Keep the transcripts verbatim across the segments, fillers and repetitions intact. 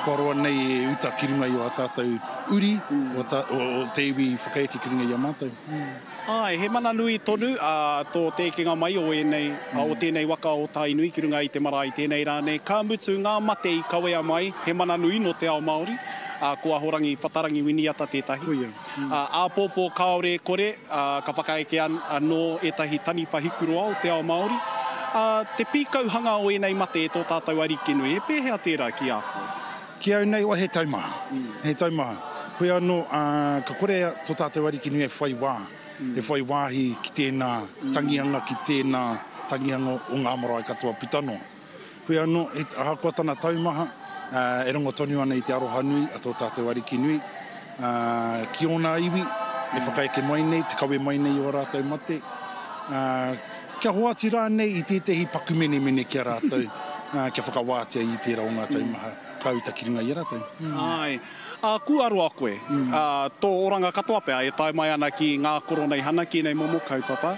kua roa nei e uta ki runga i o a tātou uri, mm. o, ta, o, o te iwi whakaeke ki runga i a mātou. Mm. Ai, he mana nui tonu a tō te ekenga mai o ēnei, mm. o tēnei waka o Tainui ki runga i te marae tēnei rā nei. Ka mutu ngā mate i kawea mai, he mana nui no te ao Māori, a, ko Ahorangi Whatarangi Winiata tētahi. Koia. Mm. A, āpōpō kāore kore, a, ka whakaeke an, anō ētahi taniwha hikuroa o te ao Māori. A, te pīkauhanga o ēnei mate e tō tātou Arikinui, e pēhea tērā ki a koe? Ki au nei, o he taumaha. Mm. He taumaha. Koe anō, a, ka kore tō tātou Arikinui e whai wā. Mm. E whai wāhi ki tēnā tangihanga, ki tēnā tangihanga o ngā marae katoa puta noa. Koe anō, he, ahakoa tana taumaha, uh, e rongo tonu ana i te aroha nui a tō tātou Arikinui, uh, ki ōna iwi, e whakaeke mai nei, te kawe mai nei o rātou mate. Uh, kia hoatu rānei i tētehi paku menemene ki a rātou, uh, kia whakawātea i tērā o ngā taumaha, ka uta ki runga i a rātou. Mm. Ai. A, kua roa koe, mm. a, tō oranga katoa pea e tae mai ana ki ngā koroneihana, ki nei momo kaupapa.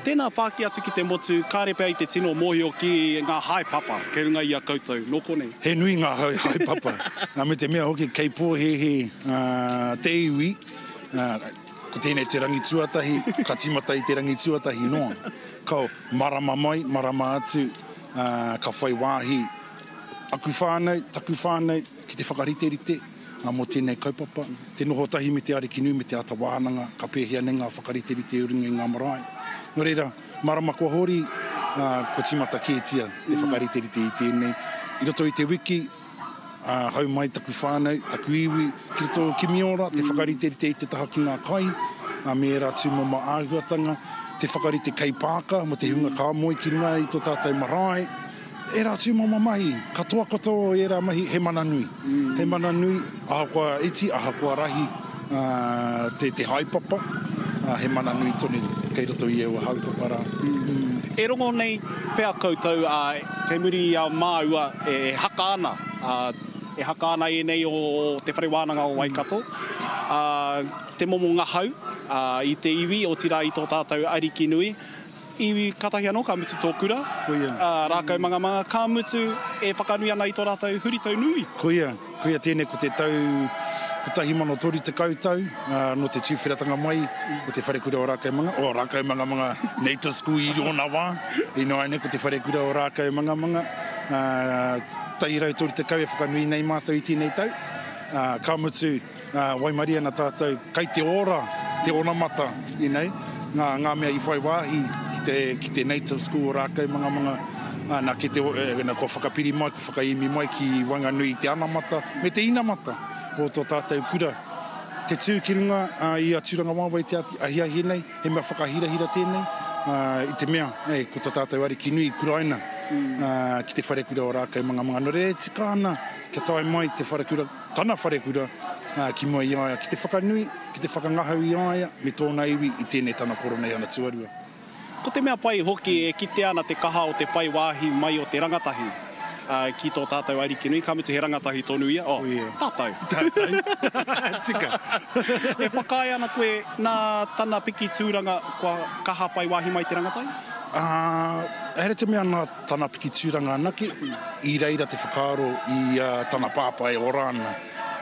Tēnā whāki atu ki te motu, kāre pea i te tino mōhio ki ngā haepapa, kei runga i a koutou, nō konei? He nui ngā haepapa. Me te mea hoki, kei pōhēhē uh, te iwi, uh, ko tēnei te rangi tuatahi, ka tīmata i te rangi tuatahi noa. Ka marama mai, marama atu, uh, ka whai wāhi aku whānau, taku whānau, ki te whakariterite uh, mō tēnei kaupapa. Te noho tahi me te Arikinui, me te ata wānanga, ka pēhea nei ngā whakariterite o runga i ngā marae. Nō reira, marama kua hori, uh, ko tīmata kētia te whakariterite i tēnei. I roto i te wiki, Uh, hau mai taku whānau, taku iwi, ki roto o Kimiora, te whakariterite i te taha ki ngā kai, uh, me ērā tūmomo āhuatanga, te whakarite kei pāka, mo te hunga ka moe ki runga i tō tātou marae, ērā tūmomo mahi, katoa katoa o ērā mahi, he mana nui. Mm. He mana nui, ahakoa iti, ahakoa rahi, uh, te, te haepapa, uh, he mana nui tonu kei roto i aua haepapa rā. Mm. E rongo nei pea koutou, uh, kei muri i a māua e haka ana, uh, e haka ana ēnei o te whare wānanga o Waikato, uh, te momo ngahau uh, i te iwi, otirā i tō tātou Arikinui. Iwi katahi anō ka mutu tō kura, Koia. uh, Rākaumangamanga, ka mutu e whakanui ana i tō rātou huritau nui. Koia, koia tēnei ko te tau kotahi mano toru tekau tau, uh, no te tūwheratanga mai o te wharekura o Rākaumanga, o Rākaumangamanga Native School i ōna wā, i noa nei ko te wharekura o Rākaumangamanga, uh, tahi rau toru tekau e whakanui nei mātou i tēnei tau. Uh, ka mutu, uh, waimarie ana tātou, kai te ora, te onamata, you know, ngā, ngā mea i whai wāhi ki te, ki te Native School o Rākaumangamanga, uh, nā, ki te, eh, nā, kua whakapiri mai, kua whakaimi mai ki waenganui i te anamata, me te inamata o tō tātou kura. Te tū ki runga uh, i a Tūrangawaewae te ahiahi nei, he mea whakahirahira tēnei, uh, i te mea, eh, ko tō tātou Arikinui i kuraina uh, ki te wharekura o Rākaumangamanga. Nō reira e tika ana kia tae mai te wharekura, tana wharekura uh, ki mua i a ia, ki te whakanui, ki te whakangahau i a ia, me tōna iwi i tēnei tana koroneihana tuarua. Ko te mea pai hoki e kite ana te kaha o te whai wāhi mai o te rangatahi uh, ki tō tātou Arikinui, ka mutu he rangatahi tonu ia. Oh, Koia. tātou. Tātou. Tika. E whakaae ana koe nā tana piki tūranga kua kaha whai wāhi mai te rangatahi? Uh, here te mea nā tana piki tūranga anake, i reira te whakaaro i uh, tana pāpā e ora ana.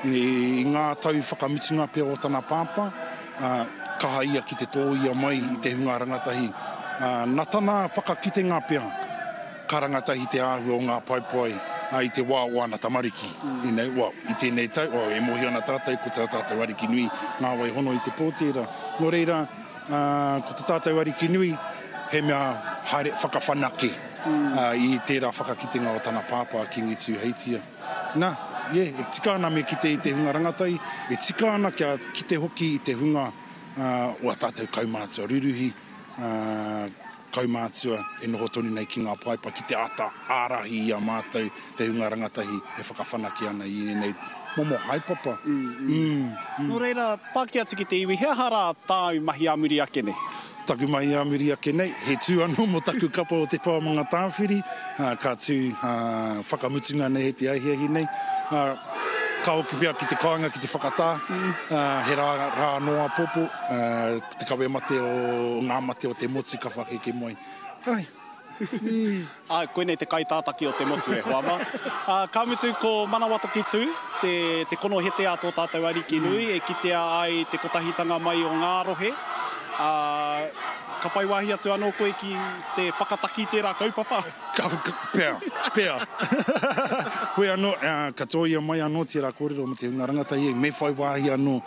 I, i ngā tau whakamutunga pea o tana pāpā, uh, kaha ia ki te tōia mai i te hunga rangatahi. Uh, nā tana whakakitenga pea, ka rangatahi te āhua o ngā paepae uh, i te wā o ana tamariki. Mm. You know, well, i tēnei tau, oh, e mōhio ana tātou ko tā tātou Arikinui ngā wai hono i te pō tērā. Nō reira, uh, ko tā tātou Arikinui, he mea haere whakawhanake mm. uh, i tērā whakakitenga o tana pāpā Kingi Tūheitia. Nā, yeah, e tika ana me kite i te hunga rangatahi, e tika ana kia kite hoki i te hunga uh, o a tātou kaumātua ruruhi, uh, kaumātua e noho tonu nei ki ngā paepae, ki te ata ārahi i a mātou te hunga rangatahi e whakawhanake ana i ēnei momo haepapa. Mm, mm. Mm, mm. Nō reira, pāki atu ki te iwi, he aha rā tāu mahi ā muri ake nei? Taku mahi ā muri ake nei, he tū anō mō taku kapa o Te Pā o Mangatāwhiri, uh, ka tū uh, whakamutunga nei he te ahiahi nei. Uh, ka hoki pea ki te kāinga, ki te whakatā, mm. uh, he rā, rā noa popo, uh, te kawe mate o ngā mate o te motu ka whakeke mai. Ai, Āe, koinei te kaitātaki o te motu e hoa mā. Ā, ka mutu ko Manawatoki Tū, te, te konohete a tō tātou Ariki nui, e kitea ai te kotahitanga mai o ngā rohe. Ā, ka whai wāhi atu anō koe ki te whakataki i tērā kaupapa? Ka, ka, pea, pea. Hoi anō, ā, ka tōia mai anō tērā kōrero mō te hunga rangatahi, me whai wāhi anō,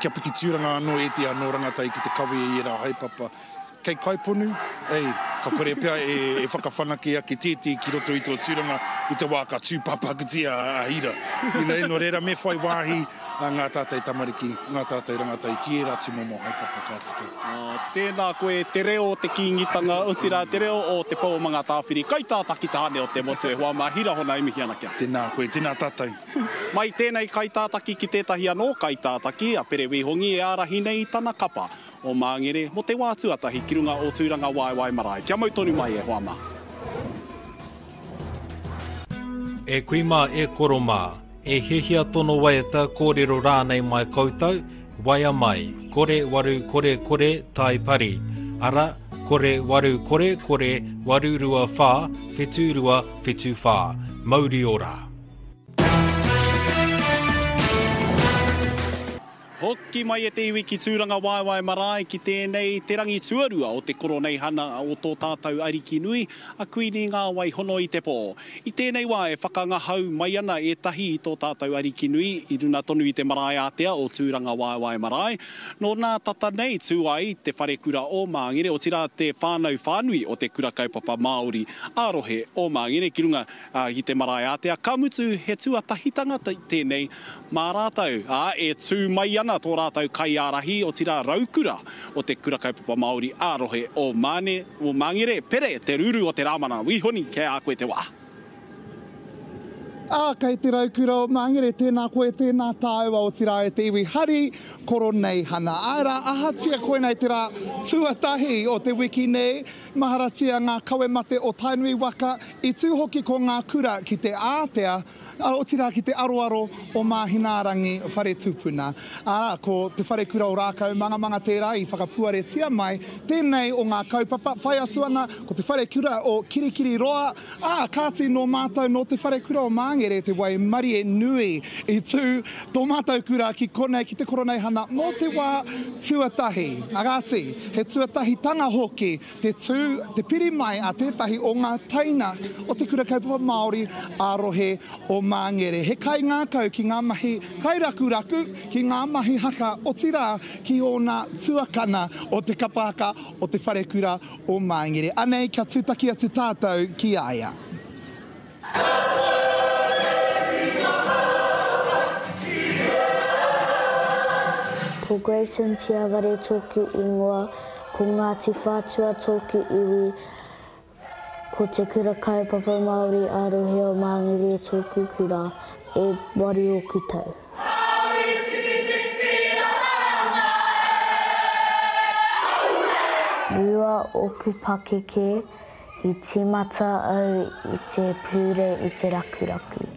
kia piki tūranga anō ētehi anō rangatahi ki te kawe i ērā haepapa. Kei Kaiponu, ei, ka kore pea e, e whakawhanake ake tētehi ki roto i tō tūranga i te wā ka tūpāpakutia a Hira. You know, nō reira me whai wāhi ngā tātai tamariki, ngā tātai rangatahi ki ērā tūmomo haepapa ka tika. Oh, tēnā koe, te reo o te Kīngitanga, otirā te reo o Te Pou o Mangatāwhiri, kaitātaki tāne o te motu e hoa mā, Hira Hona e mihi ana ki a. Tēnā koe, tēnā tātou. Mai tēnei kaitātaki ki tētahi anō kaitātaki, a Pere Wīhongi e ārahi nei i tana kapa o Māngere mō te wā tuatahi ki runga o Tūrangawaewae Marae. Kia mau tonu mai e hoa mā. E kui mā, e koro mā, e hiahia tono waiata kōrero rānei mai koutou, waea mai, kore waru kore kore tai pari, ara, kore waru kore kore waru rua whā, whitu rua whitu whā. Mauri ora. Hoki mai e te iwi ki Tūrangawaewae Marae ki tēnei te rangi tuarua o te koroneihana o tō tātou Ariki nui, a Kuini Ngā Wai Hono i te Pō. I tēnei wā e whakangahau mai ana ētahi i tō tātou Ariki nui i runa tonu i te marae ātea o Tūrangawaewae Marae. Nō nā tata nei tū ai te wharekura o Māngere, otirā te whānau whānui o te Kura Kaupapa Māori ā-rohe o Māngere ki runga i te marae ātea. Ka mutu he tuatahitanga tēnei mā rātou, ā, e tū mai ana tō rātou kaiārahi, otirā raukura o te Kura Kaupapa Māori ā-rohe o Māne, o Māngere, Pere, te ruru o te Rāmana. Wīhoni, kei a koe te wā. Ā, kei te raukura o Māngere, tēnā koe, tēnā tāua, otirā e te iwi hari, koroneihana. Āe rā, ahatia koinei te rā tuatahi o te wiki nei, maharatia ngā kawe mate o Tainui waka, i tū hoki ko ngā kura ki te ātea, otirā ki te aroaro o Māhinaarangi whare tupuna. Ā, ko te wharekura o Rākau Mangamanga tērā i whakapuaretia mai tēnei o ngā kaupapa, whai atu ana ko te wharekura o Kirikiriroa, ā, kāti nō mātou nō te wharekura o Māngere te waimarie nui i tū tō mātou kura ki konei ki te koroneihana mō te wā tuatahi. Ā, kāti, he tuatahitanga hoki te tū, te piri mai a tētahi o ngā teina o te Kura Kaupapa Māori ā-rohe o Māngere. He kaingākau ki ngā mahi kairakuraku, ki ngā mahi haka, otirā ki ōna tuakana o te kapa haka o te wharekura o Māngere. Anei, kia tūtaki atu tātou ki a ia. Ko Grayson Tiaware tōku ingoa, ko Ngāti Whātua tōku iwi, ko te Kura Kaupapa Māori ā-rohe o Māngere tōku kura, e waru oku tau. Rua oku pakeke, i tīmata au i te pūre i te rakuraku.